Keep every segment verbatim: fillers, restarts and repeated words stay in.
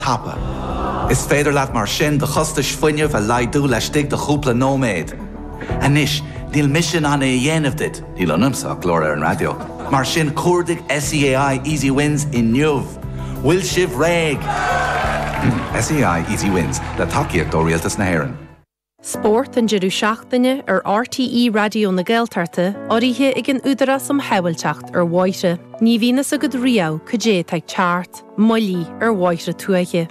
Tapa. Is féidir leat mar sin do chostais fuinnimh a laghdú laistigh de chúpla nóiméad. Anois, níl mise in ann é a dhéanamh duit, níl ionamsa ach glór ar an raidió. Mar sin cuardaigh SEAI Easy Wins inniu. Bhfuil sibh réidh. SEAI Easy Wins le tacaíocht ó Rialtas na hÉireann. Spórt an deireadh seachtaine ar RTÉ Raidió na Gaeltachta urraithe ag an Údarás um Shábháilteacht ar Bhóithre. Ní bhíonn a fhios agat riamh cad é atá ag teacht, moilligh ar bhóithre tuaithe.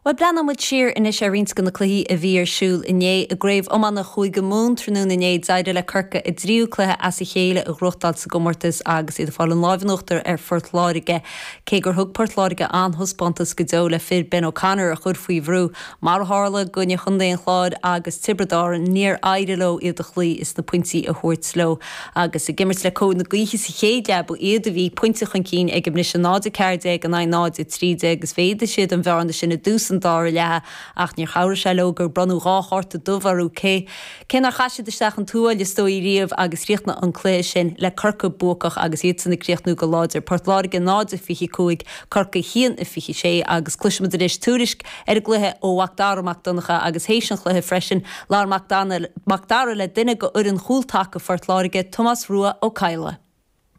Bhuel, breathnóidh muid siar anois ar roinnt de na cluichí a bhí ar siúl inné. I gCraobh Iomána Chúige Mumhan tráthnóna inné, d'éirigh le Corcaigh a dtríú cluiche as a chéile a ghnóthachtáil sa gcomórtas agus iad ag fáil an láimh in uachtar ar Phort Láirge. Cé gur thug Port Láirge an-thaispeántas go deo le fir Ben O'Connor a chur faoi bhrú, mar a tharla i gcoinne Chontae an Chláir agus Tiobraid Árann, níor éirigh leo iad a chloí is na pointí a thabhairt leo. Agus ag imirt le cóir na gaoithe sa chéad leath, ba iad a bhí pointe chun cinn ag an mbriseadh, náid a ceathair déag in aghaidh náid a trí déag, agus mhéadaigh siad an bhearna sin i dtús an dara leatha ach níor chabhraigh sé leo gur bronnadh dhá chárta dubh orthu cé cé nár chaith siad isteach an tuáille is dóigh riamh agus chríochnaigh an cluiche sin le Corcaigh buacach agus iadsan ag críochnú go láidir. Port Láirge náid a fiche cúig, Corcaigh a haon a fiche sé agus cloisfimid anois tuairisc ar an gcluiche ó Mhac Dara Mac Donncha agus théis an chluiche freisin labhair Mac Dara le duine de fhoireann chúl taca Phort Láirge, Tomás Rua Ó Cadhla.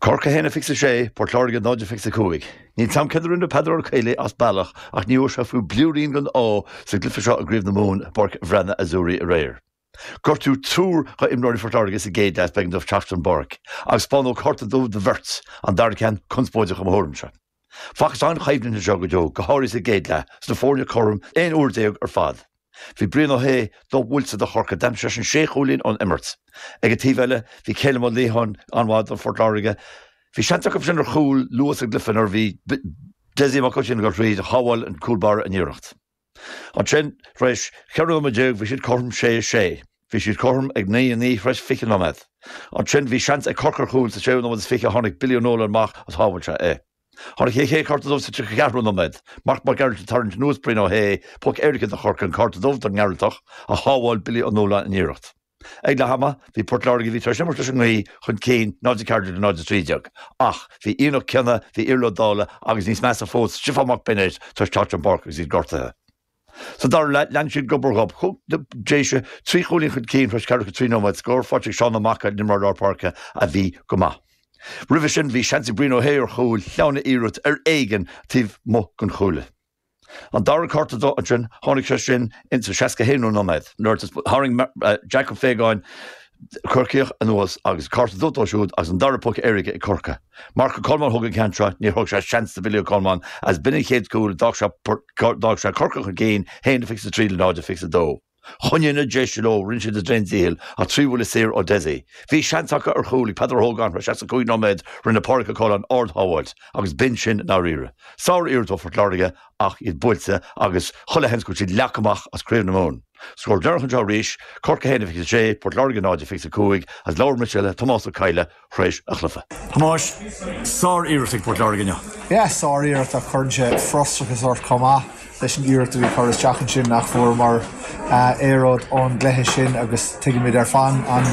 Corcaigh a haon a fiche sé, Port Láirge náid a fiche cúig. Níl 's a'm céard a rinne Peadar Ó Caollaí as bealach ach ní raibh sé fiú blúirín den ádh sa gcluiche seo i gCraobh na Mumhan i bPáirc Bhreathnaigh Azzurri aréir. Gortú triúr dho imreoirí Phort Láirge sa gcéad leath is b'éigean dóibh teacht den bpáirc agus spáineadh cárta dubh do bheirt, an dara ceann conspóideach i mo thuairimse. Facthas an-choimhlint anseo go deo, go háirithe sa gcéad leath, 's na foirne cothrom aon uair déag ar fad. Bhí Brian Ó hAodha do-bhuailte do Chorcaigh, d'aimsigh seisean sé chúilín ón imirt. Ag an taobh eile, bhí Calum Ó Liatháin an-mhaith do Phort Láirge. Bhí seans acu sin ar chúl luath sa gcluiche nuair a bhí Dessie Mac Oisín ag dul thríd, shábháil an cúl báire an iarracht. Ansin, tar éis cheithre nóiméad déag, bhí siad cothrom sé a sé. Bhí siad cothrom ag naoi a naoi tar éis fiche nóiméad. Ansin, bhí seans ag Corcaigh ar chúl sa séú nóiméad is fiche, tháinig Billy O'Nolan amach agus shábháil sé é. Tháinig an chéad chárta dubh sa tríocha ceathrú nóiméad. Marc Mac Gearailt ag tarraingt anuas Brian Ó hAodha, poc éirice do Chorcaigh, an cárta dubh don nGearaltach, ach shábháil Billy Ó Nualláin an iarracht. Ag leath ama, bhí Port Láirge, a bhí tar éis imirt leis an ngaoth, chun cinn, náid a ceathair déag le náid a trí déag. Ach bhí Ian Ó Cionnaith, bhí Iarla Ó Dálaigh agus níos measa fós, Stiofán Mac Beinéid tar éis teacht den bpáirc agus iad gortaithe. Sa dara leath, lean siad gob ar ghob. Chuaigh na Déise trí chúilín chun cinn tar éis ceathracha trí nóiméad, scór faighte ag Seán Ó Maca, an imreoir lár páirce a bhí go maith. Roimhe sin, bhí seans ag Brian Ó hAodha ar chúl, shleamhnaigh a iarracht ar éigean taobh amuigh den chuaille. An dara cárta dubh ansin, tháinig sé sin in sa seasca haonú nóiméad nuair a tharraing Jack Ó Faogáin Corcaíoch anuas agus cárta dubh dó siúd agus an dara poc éirice ag Corcaigh. Marc Ó Colmáin a thóg an ceann seo, níor thug sé seans do Bhilly Ó Colmáin agus b'in an chéad chúl, d'fhág sé d'fhág sé Corcaigh chun cinn, haon a fiche a trí le náid a fiche a dó. Choinnigh na Déise leo, rinne siad a dtréan-dícheall ach trí bhuille saor ó Dessie. Bhí seans acu ar chúl ag Peadar Ó hÓgáin tar éis seasca cúig nóiméad, rinne Pádraig Ó Coileáin ard-shábháilt agus b'in sin i ndáiríre. Sár-iarracht ó Phort Láirge ach iad buailte agus chuile sheans go bhfuil siad leagtha amach as Craobh na Mumhan. Scór deireanach anseo arís, Corcaigh a haon a fiche a sé, Port Láirge náid a fiche a cúig agus labhair mise le Tomás Ó Cadhla tar éis an chluiche. Thomáis, sár-iarracht ag Port Láirge inniu. Yeah, sár-iarracht ach cuireann sé frustrachas ort chomh maith leis an iarracht a bhí curtha isteach ansin nach bhfuaireamar aon rud ón gcluiche sin agus tuigimid ar fad an